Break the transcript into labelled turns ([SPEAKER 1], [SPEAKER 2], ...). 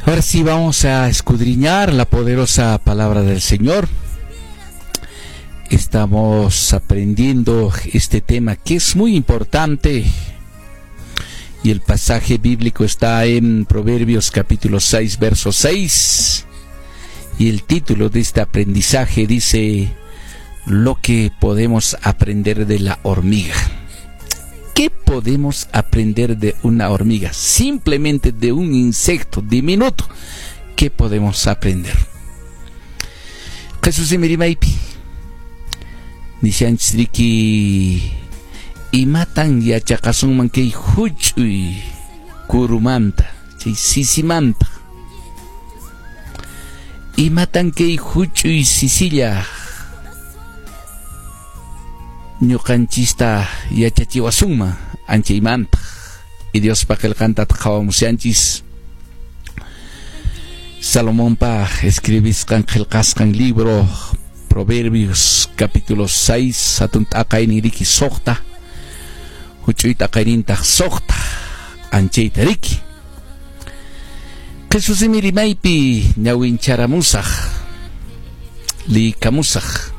[SPEAKER 1] Ahora sí vamos a escudriñar la poderosa palabra del Señor. Estamos aprendiendo este tema que es muy importante. Y el pasaje bíblico está en Proverbios capítulo 6, verso 6. Y el título de este aprendizaje dice: "Lo que podemos aprender de la hormiga". ¿Qué podemos aprender de una hormiga? Simplemente de un insecto diminuto. ¿Qué podemos aprender? Jesús rimaypi. Nishanchis riki, imatan yachaqasunman kay huch'uy kurumanta, chay sisimanta? Imatan kay huch'uy sisilla ñuqanchista yachachiwasunman anchaymanta? Y Diospa qillqanta qhawamushanchis, Salomonpa escribisqan, qillqasqan libro, Proverbios capítulo 6, hatun t'aqaynin riki 6, huch'uy t'aqaynintaq 6, anchayta riki. Qhichwa simi rimaypi ñawincharamusaq, liykamusaq.